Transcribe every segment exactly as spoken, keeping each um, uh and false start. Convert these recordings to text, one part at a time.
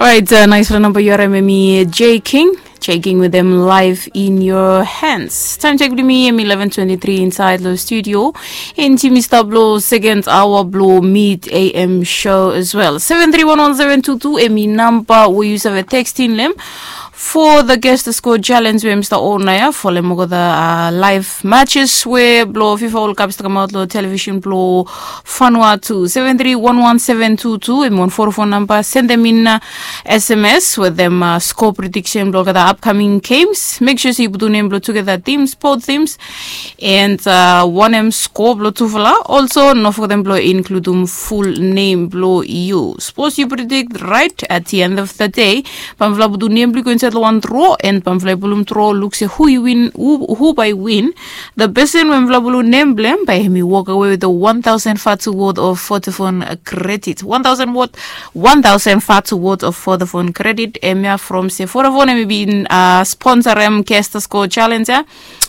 Right, uh, nice for number. You're Mimi J King. Checking with them live in your hands. Time check with me, M eleven twenty-three inside the studio. In Jimmy Stablo, second hour blow, mid A M show as well. Seven three one one seven two two, Emi number, we use a text in them. For the guest score challenge, we Mr. Onaya, follow mo the uh, live matches, we blow FIFA World Cup, come out lo television blow, Fanua two seven three one one seven two two, Emi one four phone number, send them in uh, S M S with them uh, score prediction blow the upcoming games. Make sure you put your name blow together teams, both teams, and uh, one M score blow tufala. Also, no forget them blow include um full name blow you. Suppose you predict right at the end of the day, pamfla put your name blow go inside one draw, and pamfla pulum draw look say who you win, who, who by win. The person when pamfla pulum name blame by him walk away with the one thousand fatu worth of Vodafone credit. One thousand worth, one thousand fatu worth of Vodafone credit. Emia from se Vodafone emi bin uh, sponsor em Kester Score Challenge.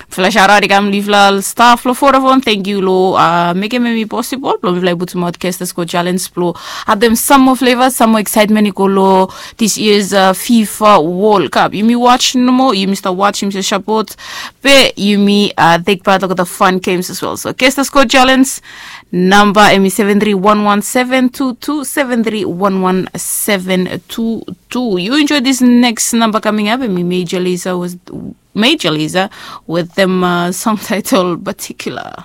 Flash out i kam live la staff lo Vodafone. Thank you lo uh, make em emi possible. Blo mi fly put out Kester Score Challenge blo. Have them some more flavors, some more excitement i go lo this year's uh, FIFA World Cup. Yumi watch no more. Yumi start watch him se support. Pe yumi uh, take part of the fun games as well. So Kester Score Challenge number emi seven three one one seven two two, seven three one one seven two two. You enjoy this next number coming up. Emi Major Lazer was Major Lazer with them uh, song title Particular.